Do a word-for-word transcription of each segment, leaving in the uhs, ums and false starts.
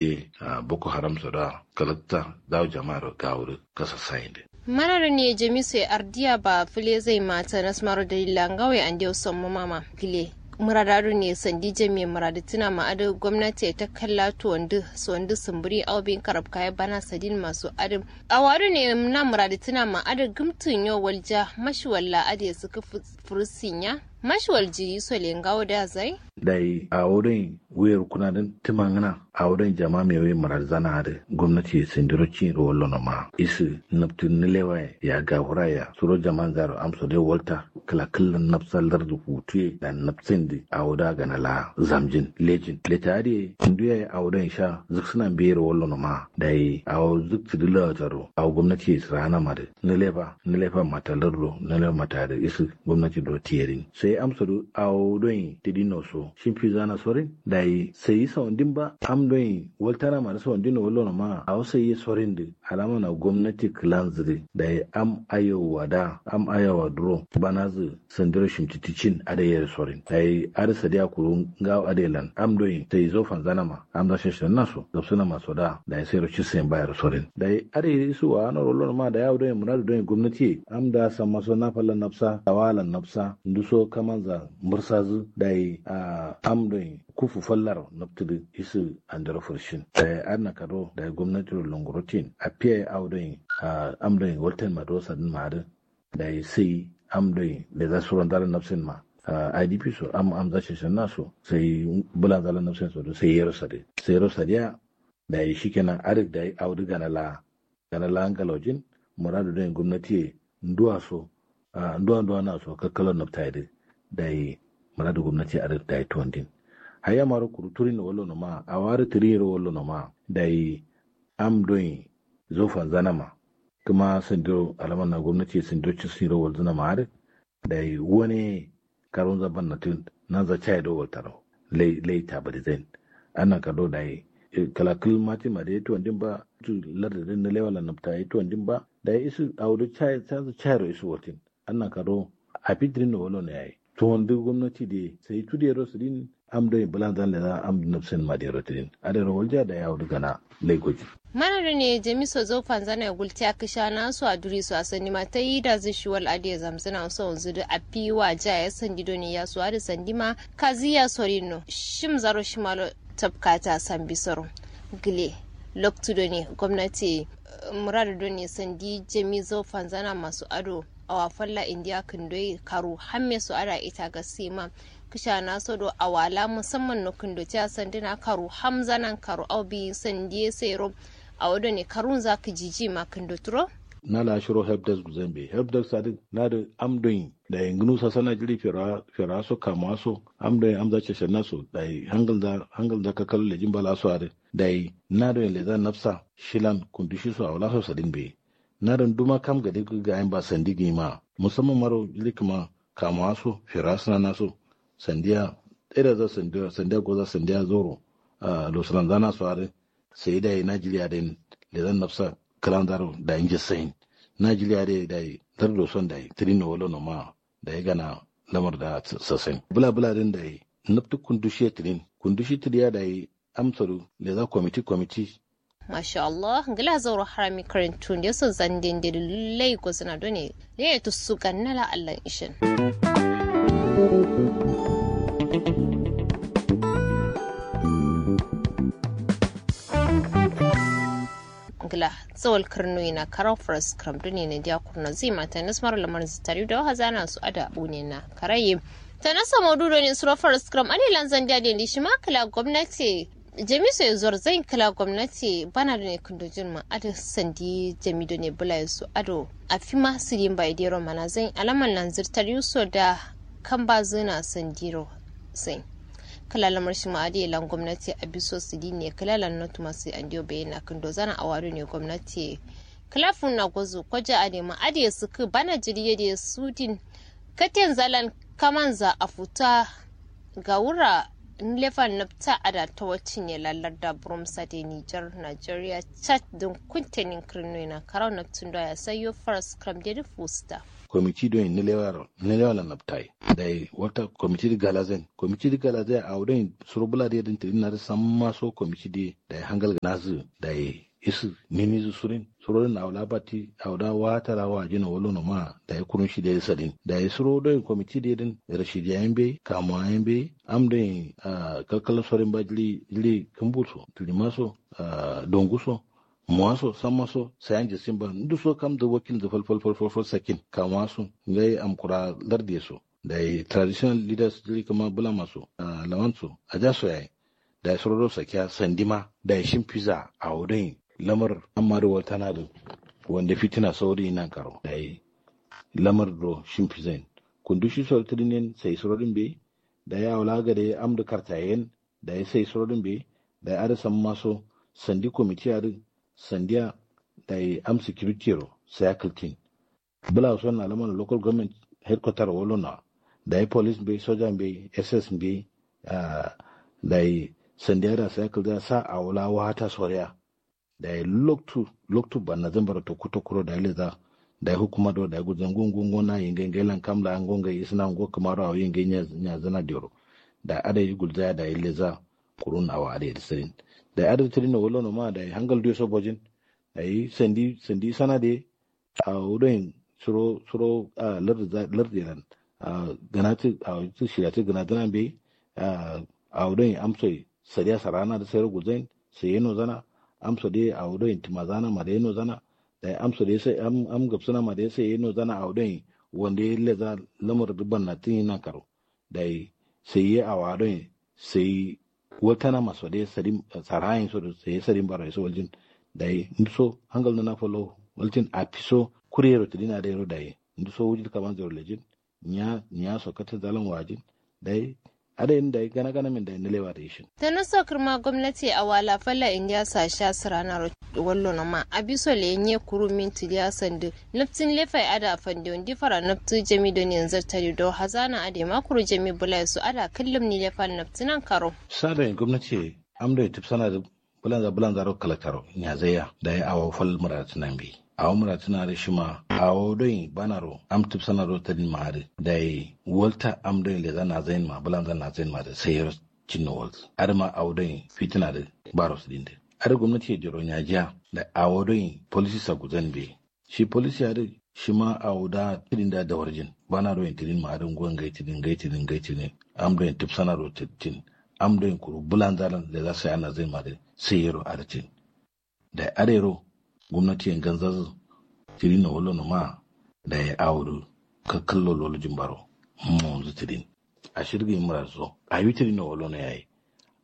ye boko haram so da kalakta dawo jama'a do gawo do kasa sayin de. Mana do ne jamiso ye ardiya ba fule zai ma tanas maro dalila ngawo ye andewo sommo mama gile. Murada do ne sandi jamiye muradi tuna ma adu gomnati ye takkalla tuwandu sondu sumburi awo bin karabka ye bana sadin maso adu. Awa do ne na muradi tuna ma adu gumtun yo walja mashi walla adu ye suku furusinya mashi walji sole ngawo da zai. Dai awo do ne wuyar kuna din tumangana awo do ne jama me wuye muradi zana adu gomnati ye sandiro cin ro wallo no ma isu nabtu nilewa ya gafura ya suro jaman zaro amso dai walta kala kallan nabsa lardu hutu ye da nabsin di awo da gana la zamjin lejin leta adi ye ndu ya awo do ne sha zuksuna biyero wallo no ma dai awo zuktu dila taro awo gomnati ye sirana ma de nilefa nilefa mata lardu nilefa mata de isu gomnati do tiyerin sai amso do awo do ne tidi no so shimfi zana sorin dai sai saundin ba am do ne waltana ma de saundin no wallo no ma awo sai ye sorin de alama na gomnati kilanzu de dai am ayowa da am ayowa duro banazu sandiro shimtiti cin ade yero sorin dai ade sadiya kuru ngawo ade lan am do ne sai zo fanzana ma am za sheshen naso gabsuna maso da dai sai ro cisin bayero sorin dai ade isu wa no wallo no ma dai awo do ne muradu do ne gomnati ye am da san maso na falla nabsa tawala nabsa nduso kamanza mursazu dai a am do ne kufu fallaro nabtudu isu andero furshin dai adna kado dai gomnati ro longurotin apiya ye awo do ne a am do ne walten ma do sadin ma adu dai sai am do ne leza suro ndala nabsin ma a idp so am am za sheshen naso sai bula ndala nabsin so do sai yero sade sai yero sade ya dai shikenan arik dai awo du gana la gana la ngalojin muradu do ne gomnati ye nduwa so a nduwa nduwa na so kakkalo nabta ye de dai muradu gomnati ye arik dai tuwandin haya maro kuru turin wallo no ma awo adu tirin ro wallo no ma dai am do ne zo fanzana ma kuma sandiro alama na gomnati ye sandiro cisin ro walzuna ma adu dai wane karunza banna tun nanza cayi do waltano lai lai tabari zain annan kado dai kalakul mati ma dai tuwandin ba tu larda din na lewa la nabta ye tuwandin ba dai isu awo do cayi sanzu cayi ro isu waltin annan kado afi dirin no wallo no yayi tuwandu gomnati de sai tude ro sidin am do ne bulan zan leza am nabsin ma de ro tidin ade ro walja dai awo du gana lai goji. Mana do ne jamiso zo fanzana ye gultiya kishana so a duri so a sandi ma tayi da zu shiwal ade zamzuna so wanzu du afi wa ja ye sandi do ne ya so adu sandi ma kazi ya sorin no shim zaro shimalo tabkata sambi soro gile loktu do ne gomnati muradu do ne sandi jami zo fanzana maso ado awa falla indiya kundoi karu hamme so ada ita gasi ma kishana so do awala musamman no kundo tiya sandina karu hamzanan karu au bi sandiye sero awo do ne karunza kijiji ma kundo turo. Na la shiro help desk guzan be help desk sadi na da am don yi da yinginu sasana jiri fera fera so kama so am don yi am za ceshen na so da yi hangal za hangal za kakal lejin bala so adi da yi na don yi leza nafsa shilan kundushi so awala so sadin be na don duma kam gade ga yin ba sandi gi ma musamman maro jiri kuma kama so fera suna na so sandiya tsere za sandiya sandiya goza sandiya zoro a losulan zana so adi sai da yi najeriya da yin lezan nafsa kalan zaro da yin jisayin najeriya da yi da yi dar doson da yi tirin no wala no ma da yi gana lamar da sassain bula bula din da yi naftu kundushi tirin kundushi tiriya da yi amsaru leza komiti komiti. Masha Allah ngila zauro harami karin tun de so zande de lai gozna done ne ya tusu ganna la Allah ishin. Ngla zawal karnu ina karau faras kram duni ne dia kurna zai mata nas maro lamar zitari da waha zana su ada bune na karaye. Ta nasa maudu doni suro faras kram ade lanzan dia dendi shima kala gwamnati jami so ya zuwar zan kala gwamnati bana doni kundo jin ma ada sandi jami doni bula su ado a fima sidin bai dero mana zan alaman lanzir tariu so da kan ba zina sandiro zan. Kala lamar shima ade lan gwamnati a biso sidin ne kala lan notu masu andiyo bayyana kundo zana a wado ne gwamnati kala funna gozu kwaja adema adiye suku bana jiri yadiye sudin katen zalan kamanza a futa. Gawura nlefan nabta ada tawacin ye lallar da burum sade nijar nigeria chad din kuntenin kirnoina karau nabtun doya sayo faras kram dedi fusta. Komiti doi nilewa lan nabtai. Dai wata komiti di galazen komiti di galazen awo doi suro bula di yadin tirin nari samma so komiti di dai hangal ganazu dai isu mimizu surin suro din awo labati awo da wata la wajin wolo no ma dai kurun shi dai sadin dai suro doi komiti di yadin rashidiya yambe kamuwa yambe am doi kalkal sorin ba jili jili kumbuso tilimaso donguso muwaso sammaso sayan jisin ba nduso kam da wakil da falfal falfal sakin kamuwa su ngai amkura larde so dai traditional leaders jiri kama bulama so lawan so aja so yayi dai suro do sakiya sandima dai shin fiza awo doi lamar amma do waltana do wanda fitina sauri nan karo dai lamar do shin fizain kundu shi so tidin sai suro din be dai awla gade am do kartayen dai sai suro din be dai ada sammaso sandi komiti ada sandiya dai am security ro sai akaltin bula son na laman local government headquarter wolo na dai police be soja be ss be dai sandiya da sai akalda sa awla wata soriya dai loktu loktu banna zan bara tokku tokkuro dai leza dai hukuma do dai guzan gungun gona yingai ngai lan kamla an gongai isna ngo kamaro awo yingai nya zana dero dai ada yi gulzaya dai leza kurun awo ada yi sirin dai ada tirin wolo no ma dai hangal duyo so bojin dai sandi sandi sana de awo doi suro suro lardi lardi lan ganati awo tu shirati ganati lan be awo doi amsoi sadiya sarana da sai ro gulzain sai yeno zana amso de awo doi tima zana ma da yeno zana dai amso de sai am am gabsuna ma da sai yeno zana awo doi wanda ya leza lamar dubban na tin nan karo dai sai ye awa doi sai waltana maso dai sarin sarayin so sai sarin baro so waljin dai nduso hangal na falo waljin a fiso kurero tidina dai ro dai nduso wujin kaman zero lejin nya nya so kata zalan wajin dai ada yin dai gana gana min dai nilewa da ishin. Tana so kirma gwamnati a wala falla indiya sa sha sirana ro wallo no ma abiso le nye kuru min tidiya sandu naftin lefai ada fande wandi fara naftu jami don yanzu tari do hazana ade ma kuru jami bulai su ada kullum ni lefal naftinan karo. Sada gwamnati am do tip sana da bulanza bulanza ro kala karo nya zaya dai awo fal muratinan bi awo muratina da shima awo doi bana ro am tip sana ro tadin ma da dai walta am doi leza na zain ma bulanza na zain ma da sai ro cinno walta adama awo doi fitina da baro su din da ada gwamnati ya jiro nya jiya da awo doi policy sa guzan bi shi policy adǝ shima awo da tidin da dawarjin bana do yin tidin ma adǝ ngo ngai tidin ngai tidin ngai tidin am do yin tǝbsana do tidin am do yin kuru bǝlanza lan leza sai ana zai ma dǝ sai yero adǝ tidin dayi adǝ yero gomnati ye nganzazǝ tidin no wallo no ma dayi awo dǝ kakkallo lolojin baro monzǝ tidin ashir gǝyi murad so awi tidin no wallo no yayi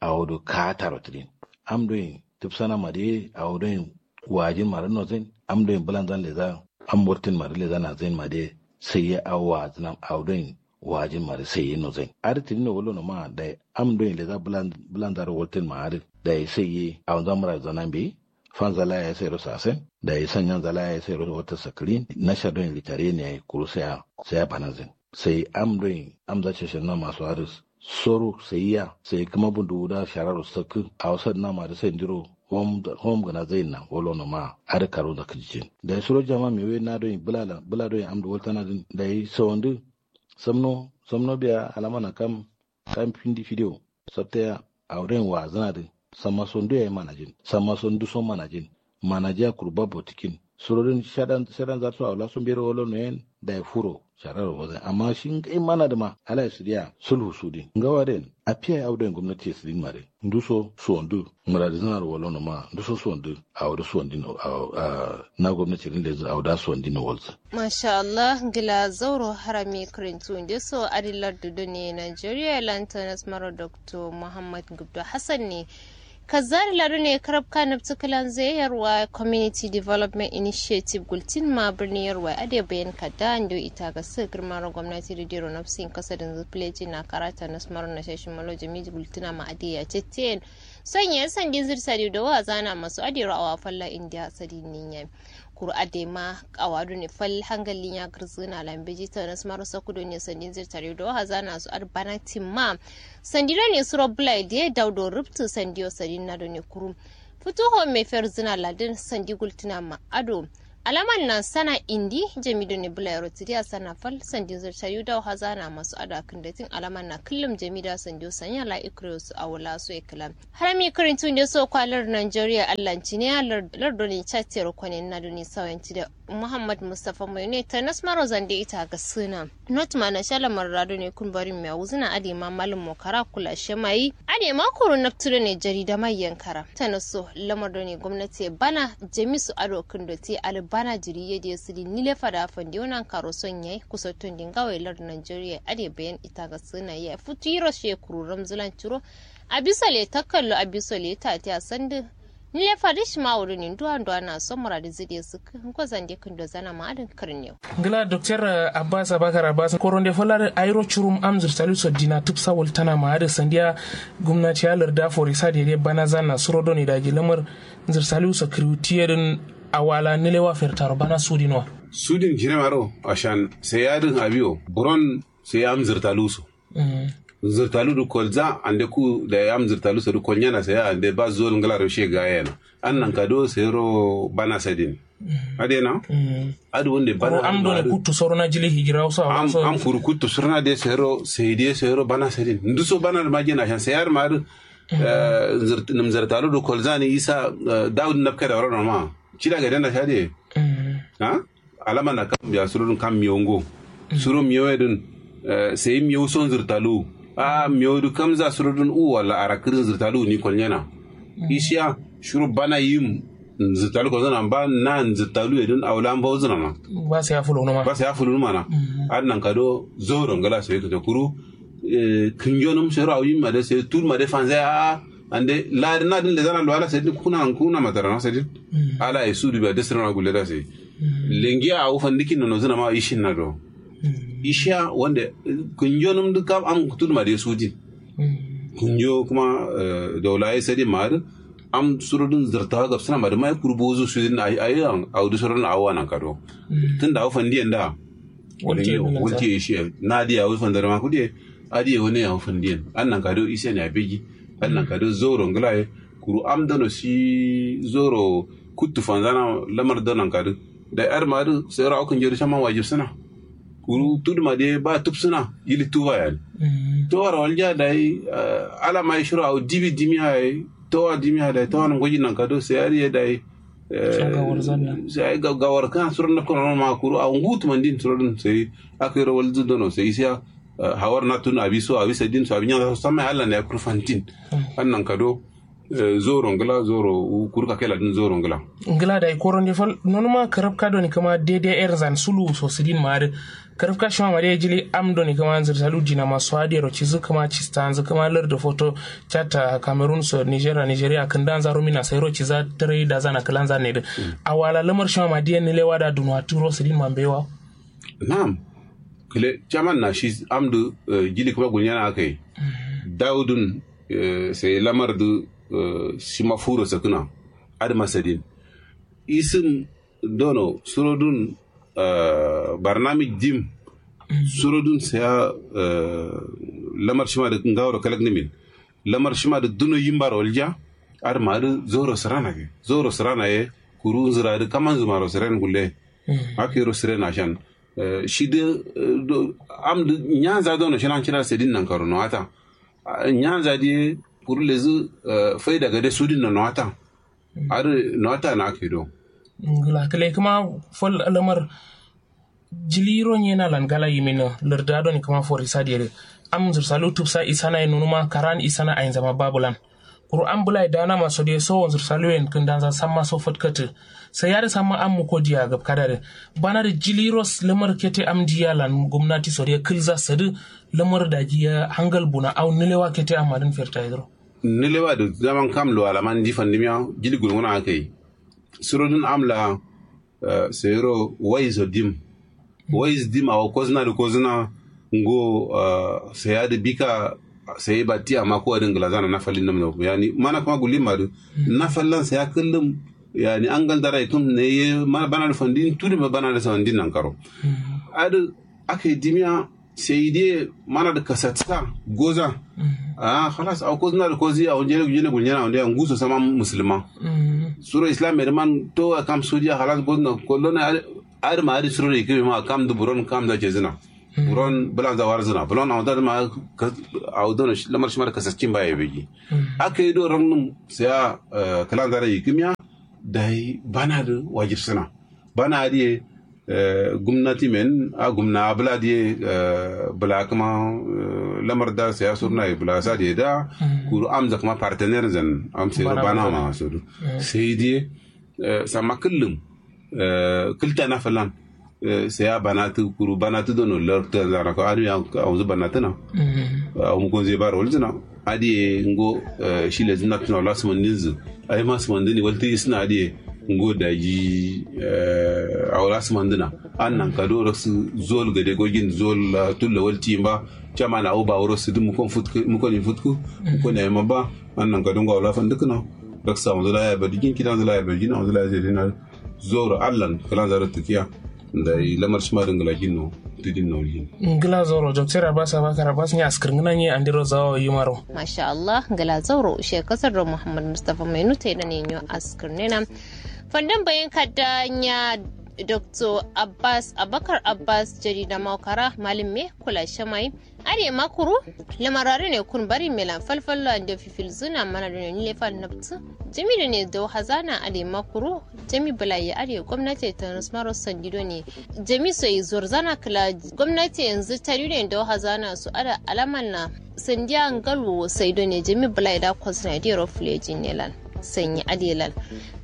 awo do kaataro tidin am do yin tǝbsana ma dǝ ye awo do yin wajin ma dǝ nozain am do yin bǝlanzan leza am wurtin ma dǝ leza nazain ma dǝ ye sai ye awo wazǝnam awo do yin wajin ma dǝ sai ye nozain adǝ tidin no wallo no ma dayi am do yin leza bǝlanza ro wurtin ma adǝ dayi sai ye awonza murad zanan beyi fanza la yayi sai ro sasen dayi sanyanza la yayi sai ro wata sakǝrin nasha do yin litare ne yayi kuru sai ya sai ya banazin sai am do yin amza ceshen na maso adǝ soro sai ya sai kǝma bundu wuda shararo sakkǝ awo sadǝ na ma dǝ sai ndiro hom gǝna zain na wallo no ma adǝ karo zakǝ jijin dayi suro jama mewe na do yin bǝla do yin am dǝ waltana dǝn dayi sawandǝ samno samno biya alama na kam kam findi fidiyo sabtaya awo do yin wazǝna dǝ samma so ndu yayi manajin samma so ndu so manajin manajiya kuru babbo tǝkin suro dǝn shadan shadan zatǝ so awo la so mbero wallo no yen dayi furo shararo wazǝn amma shi ngai mana dǝ ma ala ye sǝdiya sulhu sudin ngawa dǝ yen afiya ye awo do yin gomnati ye sǝdin ma dǝ ndu so suwandǝ muradizǝna ro wallo no ma ndu so suwandǝ awo dǝ suwandin awo na gomnati dǝn lezǝ awo da suwandin no walzǝ. Masha allah ngla zauro harami kǝrintu nde so adǝ lardǝ done nigeria lan tanas maro doctor muhammad gubdo hassan ne kazzari lado ne karabka nabtǝ kǝlanzǝ ye yarwa community development initiative gultin ma bǝrni yarwa adǝ ye bayan kadda ndo ita gassǝ gǝrma ro gomnati dǝ dero nabsǝ yin kasadinzǝ pǝlejin na kara tanas maro nasha shimalo jami gultǝna ma adǝ ye ya cetteyen sonye sandinzǝ dǝ sadiyo dawo azana maso adǝ yero awa falla indiya sadin nin yami kuru adai ma awa done fal hangal linya gǝrzǝna lan beji tanas maro sakku done sandinzǝ dǝ tare do hazana so adǝ bana timma sandi done suro bǝlai dǝ ye dau do rubtǝ sandiyo sadin na done kuru futu home ferzǝna ladǝn sandi gultǝna ma ado Alaman na sana indi jami done bula yero tidi a sana fal sandin zor cayu dawo hazana masu ada kindatin alaman na kullum jami da sandiyo sanya la ikriyo su awo la so iklam. Harami kirin tunde so kwalar nigeria allanci ne lar done chatiyar kwanen na done sawanci da muhammad mustapha mai ne ta nasmaro zande ita ga suna. Not ma na sha lamar rado ne kun bari mai wuzuna ade ma malin mokara kula shemayi ade ma koro naftu done jarida mai yankara ta naso lamar done gwamnati bana jamisu ado kindote ali bana jiri yede sidi nile fada fande wonan karo son yayi kusottun dinga wai lar nigeria ade bayan ita ga suna yayi futu yiro she kuru ramzulan ciro. Abisole takkallo abisole tati a sandu. Nile fadi shima wuduni nduwa nduwa na so muradi zide suk. Ngozande kindo zana ma adin kirniyo. Ngla doktor abbas abakar abbas koronde folar airo curum am zirtali so dina tupsa wultana ma adin sandiya. Gumnati ya larda forisa dede bana zana suro doni daji lamar zirtali so kriwutiye din. Awala nilewa fertaro bana sudinwa. Sudin jiremaro ashan sai yadin abiyo buron sai am zirtalu so. Zirtalu du kolza ande ku da yam zirtalu so du kolnyana sai ande ba zol ngla ro she ga yana. An nan kado sai ro bana sadin. Ade na? Adu wonde bana am do ne kuttu sorona jili hijira so am am kuru kuttu sorona de sai ro sai de sai ro bana sadin ndu so bana ma jina shan sai yar ma du. Num zirtalu du kolza ni isa daud nabka da ro ma cida ga dana shade. Ha alama na kam biya suro dun kam miyo ngo. Suro miyo ye dun sai miyo son zirtalu. A miyo du kam za suro dun u wala arakirin zirtalu ni kolnyana. Ishiya shuro bana yim zirtalu kolnyana ba na zirtalu ye dun awla an bawo zunana. Ba sai afulu numa ba sai afulu numa na. Adnan kado zoro ngala sai kato kuru. Kinjonum sai ro awim ma de sai tul ma de fanzai a ande ladi na din lezana luwala sai din kuna kuna matarana sai din. Ala ye sudu biya desirana gulle da sai lengiya awu fandikin nono zina ma ishin na do. Ishiya wonde kunjo num duk kam am kutul ma de sudin. Kunjo kuma daula ye sadin ma din am surudun zirtawa gabsina ma din ma ye kurbo zu sudin ayi ayi awu du surudun awu anan kado. Tunda awu fandiyan da. Walti ye ishiya na diya awu fandar ma kudiye. Adiye wone yawo fandiyen annan kado isen ya begi. Annan kado zoro nglaye kuru am dono si zoro kuttu fanzana lamar donan kado. Dai adma adu sai ro awo kinjeri shaman wajib suna. Kuru tuduma de ba tub suna yili tuba yani. To wara walja dai. Alama ye shiro awo dibi dimi haye. To wa dimi haye dai to wa num goji nan kado sai adiye dai. Sai gawar kan suron na kono ma kuru awo ngutu mandin suron sai. Akiro walzu dono sai isiya. Hawar na tun abi so abi sadin so abi nya so samma allah ne ya kurfantin. Annan kado. Zoro ngla zoro. Kurka kela din zoro ngla. Ngla dai koron de fal nonuma karabka doni kama dede erzan sulu so sidin ma de. Karabka shima ma de jili am doni kama nzir salu dina ma so adero cizu kama cista nzu kama lar da foto. Chata cameroon so nigeria nigeria kindan zaro mina sairo ciza tare da zana kilan zan ne de. Awala lamar shima ma de ne lewa da dunwa turo sidin ma mbewa. Na'am. Kile chaman na shi amdu. Jili kuma gunyana akai. Daudun sai lamar du. Shima furo sakuna. Adma sadin. Isin dono surodun. Barnamij dim. Surodun saya. Lamar shima du ngawro kalak nimin. Lamar shima du duno yimbaro walja. Adma du zoro sirana ge zoro sirana ye. Kuru nzira du kaman zumaro siren gulle. Akiro siren ashan. Shi du am du nyanza dono shinan cira sedin nan karo no ata. Nyanza diye. Kuru lezu faida gade sudin no no ata. Adu no ata na kido. Ngla kile kuma fol lamar. Jiliro nyena lan gala yimino larda doni kuma forisa diye. Am zursalu tubsa isana ye nunuma karan isana ainzama babulan. Kuru am bula ye dana ma sodiye so wanzur saluyen kindanza samma so fatkatu. Sai yari samma am muko diya gab kadare. Bana da jiliros lamar kete am diya lan gumnati sodiye kilza sadu. Lamar da jiya hangal buna au nilewa kete am adin ferta yedro. Nilewa da zaman kam lo alaman di fandimiya. Jili gulmuna akai. Surodun am la. Sayiro wai so dim. Wai so dim awo kozuna da kozuna. Ngo. Saya da bika. Sayi batti amma ko adin gila zana na falin nam no yani mana kuma gulin ma da. Na fallan saya kullum. Yani an galdara itum ne ye mana bana da fandin tudi ma bana da fandin nan karo. Adu. Aka yi dimiya. Sai diye mana da kasatsa goza. Ahh halas awo kozuna da kozi awo njene gulnyena awo ndiya nguso sama musulma. Suro islam ye da man towa kam sodiya halas gozuna kolona. Adǝ ma adǝ suro da yikǝ ma kam dǝ buron kam za cezǝna. Buron bǝlanza warzǝna bulon awo da dǝ ma awo dono lamar shima da kasatcin ba ye begi. Aka yi do rannum sai ya kǝlanza da yikǝmiya. Dayi bana dǝ wajibsǝna. Bana adǝ ye gumnati men a gumna abla diye. Bla kǝma lamar da sai ya surna ye bla sa diye da. Kuru amza kǝma partenaire zan am sai ro bana ma sodu. Sai diye samma kǝllum kǝlta na fǝlan. Sai ya banatǝ kuru banatǝ dono lartǝ zana ko adǝ ya awunzǝ banatǝna. Awun gonze baro walzǝna adǝ ye ngo shi lezǝ naftǝna wala sǝmandinzǝ. Ayi ma sǝmandǝni waltǝ isǝna adǝ ye ngo daji awo la sǝmandǝna. An nankado raksǝ zol gade gogin zol la tullo waltiyin ba. Caman awo ba wuro sǝdǝ mukon futkǝ mukon yin futkǝ mukon yayi ma ba. An nankado ngo awo la fandǝkǝna. Raksǝ awonzǝ la yayi badǝgin kidanzǝ la yayi badǝgin awonzǝ la yayi zedina. Zoro allan kǝlanza do tǝkiya. Dayi lamar shima dǝ ngla ginno tǝdinno walgin. Ngla zoro doktor abbas abakar abbas nya askǝr ngǝna nye andiro zawo yimaro. Masha allah ngla zauro she kasar do muhammad mustafa mainu taidone nyo askǝr nena. Fandin bayin kadda nya doktor abbas abakar abbas jarida maukara malum me kula shamayi. Adǝ ye ma kuru lamara done kun bari melan falfallo ande fifilzǝna mana done nile fal nabtǝ. Jami done dau hazana adǝ ye ma kuru jami bǝlaye adǝ ye gomnati ye tanus maro sandi done. Jami so ye zorzana kǝla gomnati ye yanzǝ tari done dau hazana so adǝ alaman na sandiya ngalwo sai done jami bǝlaye da kozǝna ye dero fulejin ne lan. Sanyi adǝ ye lan.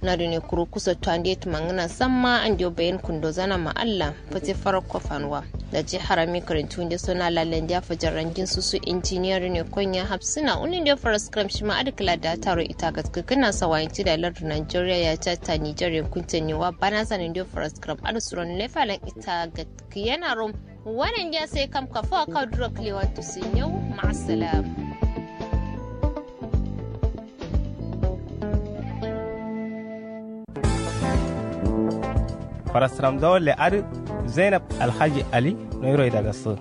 Na done kuru kuso tuwande tǝmangǝna samma andewo bayin kundozana ma allah. Fate farakko fanuwa. Daji harami kǝrintu nde so na lallen diya fajarran din susu injiniya done konya hafsǝna unun de faraskram shima adǝ kǝla da taro ita gatkǝkǝna sawayin cida lardu nigeria ya cata nigeria kunten niwa bana sanin de faraskram adǝ suron lefalan ita gatkǝyena rom. Wanan diya sai kam kafawa kawo duro kǝlewan tusin yau. Ma'assalam. Farasram zawalle adǝ zainab alhaji ali noyiro idagassǝ.